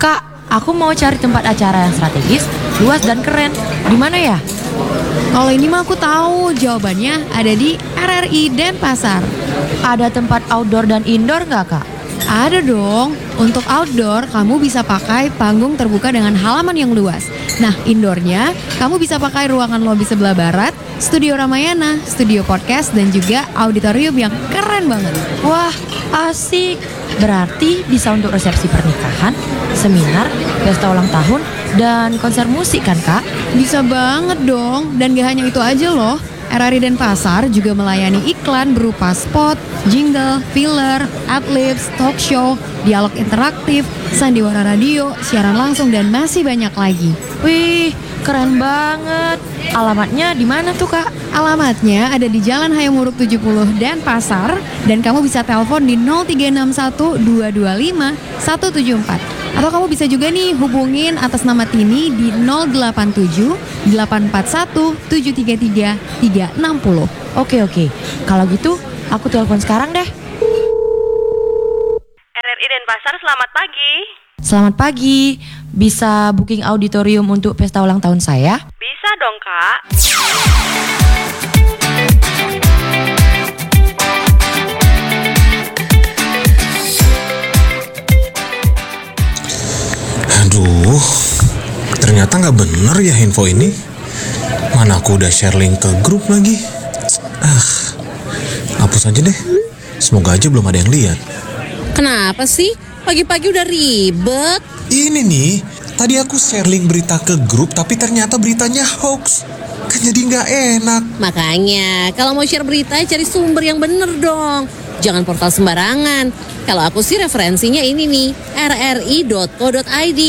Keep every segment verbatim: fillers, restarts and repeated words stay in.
Kak, aku mau cari tempat acara yang strategis, luas dan keren. Di mana ya? Kalau ini mah aku tahu, jawabannya ada di R R I Denpasar. Ada tempat outdoor dan indoor nggak, Kak? Ada dong. Untuk outdoor, kamu bisa pakai panggung terbuka dengan halaman yang luas. Nah, indoornya, kamu bisa pakai ruangan lobi sebelah barat, studio Ramayana, studio podcast, dan juga auditorium yang keren banget. Wah, asik. Berarti bisa untuk resepsi pernikahan, seminar, pesta ulang tahun, dan konser musik kan, Kak? Bisa banget dong. Dan gak hanya itu aja loh. R R I Denpasar juga melayani iklan berupa spot, jingle, filler, adlibs, talk show, dialog interaktif, sandiwara radio, siaran langsung, dan masih banyak lagi. Wih, keren banget. Alamatnya di mana tuh, Kak? Alamatnya ada di Jalan Hayam Wuruk tujuh puluh Denpasar, dan kamu bisa telepon di nol tiga enam satu dua dua lima satu tujuh empat. Atau kamu bisa juga nih hubungin atas nama Tini di nol delapan tujuh delapan empat satu tujuh tiga tiga tiga enam nol. Oke, oke. Kalau gitu, aku telepon sekarang deh. R R I Denpasar, selamat pagi. Selamat pagi. Bisa booking auditorium untuk pesta ulang tahun saya? Bisa dong, Kak. Aduh, ternyata nggak bener ya info ini. Mana aku udah share link ke grup lagi. Ah, hapus aja deh. Semoga aja belum ada yang lihat. Kenapa sih? Pagi-pagi udah ribet. Ini nih, tadi aku share link berita ke grup, tapi ternyata beritanya hoax. Kan jadi nggak enak. Makanya, kalau mau share berita, cari sumber yang bener dong. Jangan portal sembarangan. Kalau aku sih, referensinya ini nih, rri.co.id.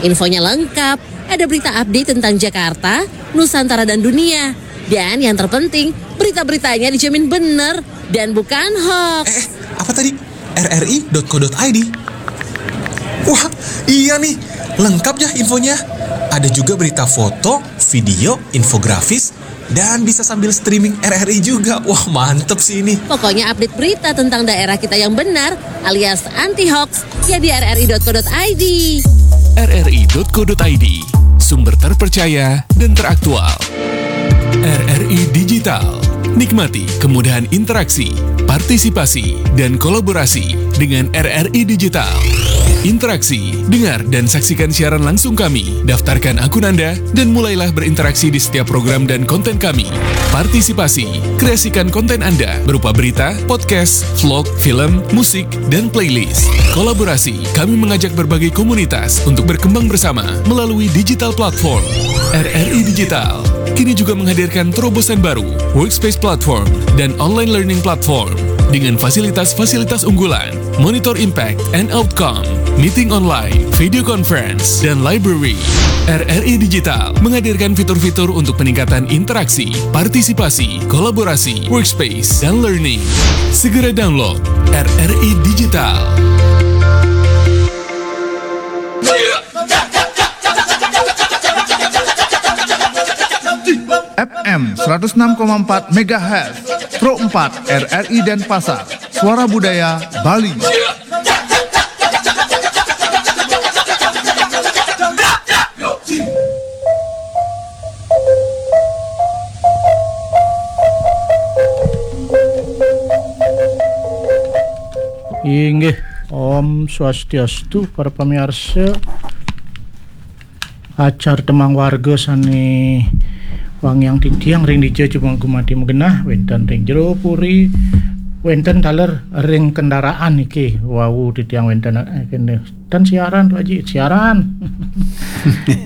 Infonya lengkap, ada berita update tentang Jakarta, Nusantara, dan dunia. Dan yang terpenting, berita-beritanya dijamin bener dan bukan hoax. Eh, apa tadi? rri.co.id. Wah, iya nih, lengkap ya infonya. Ada juga berita foto, video, infografis, dan bisa sambil streaming R R I juga. Wah, mantep sih ini. Pokoknya, update berita tentang daerah kita yang benar alias anti hoax ya di rri.co.id. rri.co.id, sumber terpercaya dan teraktual. R R I Digital. Nikmati kemudahan interaksi, partisipasi, dan kolaborasi dengan R R I Digital. Interaksi, dengar dan saksikan siaran langsung kami. Daftarkan akun Anda dan mulailah berinteraksi di setiap program dan konten kami. Partisipasi, kreasikan konten Anda berupa berita, podcast, vlog, film, musik, dan playlist. Kolaborasi, kami mengajak berbagai komunitas untuk berkembang bersama melalui digital platform. R R I Digital kini juga menghadirkan terobosan baru, workspace platform, dan online learning platform dengan fasilitas-fasilitas unggulan, monitor impact and outcome, meeting online, video conference, dan library. R R I Digital menghadirkan fitur-fitur untuk peningkatan interaksi, partisipasi, kolaborasi, workspace, dan learning. Segera download R R I Digital. F M seratus enam koma empat megahertz, Pro empat R R I Denpasar, Suara Budaya Bali. Inggih, Om Swastiastu, para pamirsa. Acar tembang warga sane wangiang titiang ring dija cuma gumati magenah, wenten ring jero puri, wenten taler ring kendaraan niki wau titiang wenten, eh, kene. Tan siaran, Pak Haji, siaran.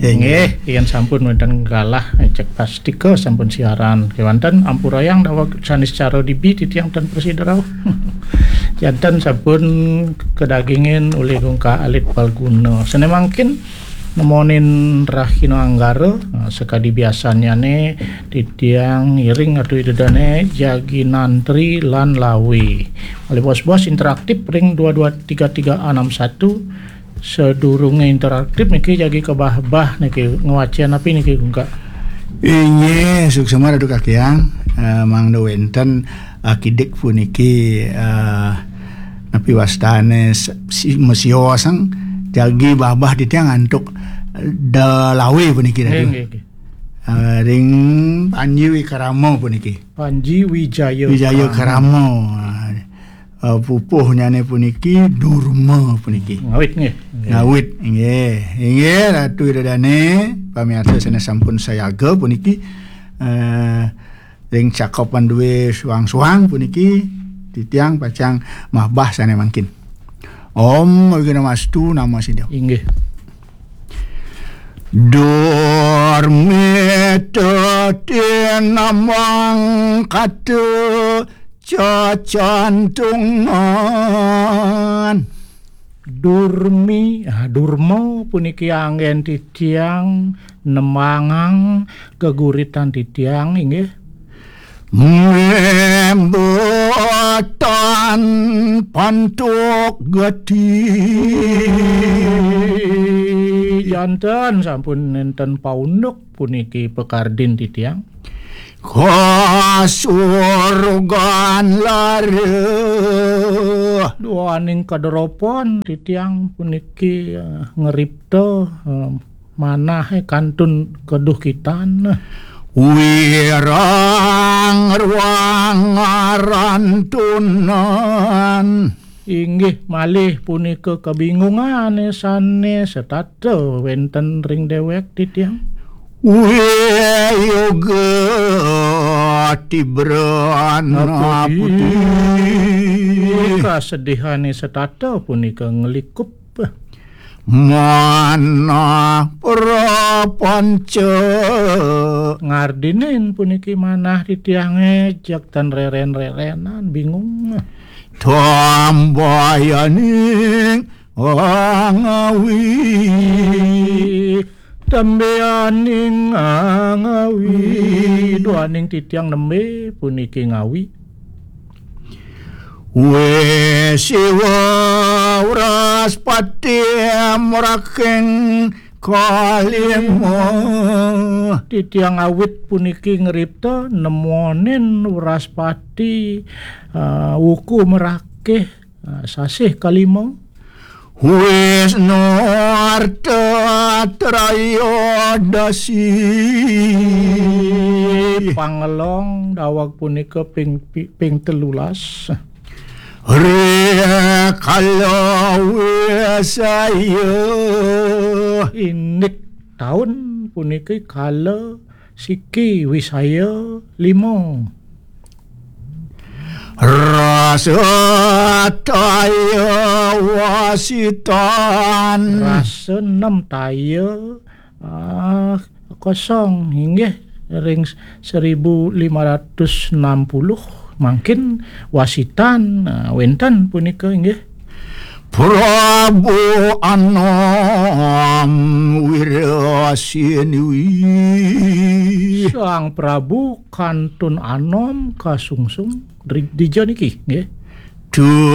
Nggih, yen sampun wenten galah, cek pastika sampun siaran. Kewanten ampurayang daweg sanis cara dibi titiang tan prasida rauh. Janten sampun kedagingin oleh gungkah alit palguna. Sene mangkin nemonin rahina anggara, nah, sakadi biasanyane titiang ngiring atu idedane jagi nantri lan lawe. Malih bos-bos interaktif ring dua dua tiga tiga enam satu. Sadurunge interaktif niki jagi kebah-bah niki, ngwaca napi niki, Gungkak? Inggih, suksema Ratu Kakiang, eh, mangda wenten akidik puniki, eh, napi wastane, si, masiosang Jagi babah titiang antuk Delawe puniki, Ratu. Nggih, nggih, nggih. Eh, ring Panji Wikrama puniki. Panji Wijaya Wijaya Krama. Krama. Eh, pupuhnyane puniki Durma puniki. Ngawit, nggih. Ngawit, nggih. Inggih, Ratu Ida Dane, pamiarsa sane sampun sayaga puniki, eh, ring cakepan duwe suang-suang puniki, titiang pacang mabah sane mangkin. Om Awighnamastu Namo Siddham. Inggih. Durmita tinamang kata cacantungan. Durmi, ah, durma puniki anggen titiang nemangang geguritan titiang, inggih. Membotan pantuk gati. Janten sampun nenten paunduk puniki pakardin titiang. Kasurgan lara. Duaning kaderopan titiang puniki, eh, ngripta, eh, manah, eh, kantun keduhkitan. Wirang ruang ngarantunan. Inggih malih punika kebingungane sane setata wenten ring dewek titiang. Wiyoga tibran aputi. Kasedihane setata punika nglikup. Manah prapanca. Ngardinin puniki manah titiange jak tan reren-rerenan, bingung. Tambayaning angawi. Tambayaning angawi. Duaning titiang nembe puniki ngawi. Wesiwa Wraspati mraking kalima. Titiang awit puniki ngripta nemonin Wraspati, eh, wuku mrakih, eh, sasih kalima. Wisnu Arta Trayodasi. Pangelong daweg punika ping, pi-, ping telulas. Rikala wisaya. Indik taun puniki kala siki wisaya lima. Rasa taya wasitan. Rasa enam taya, ah, kosong, inggih, ring seribu lima ratus enam puluh mangkin wasitan, ah, wenten punika, inggih. Prabu Anom Wirasiniwi. Sang Prabu kantun anom kasungsung dri-, dija niki, nggih. Tu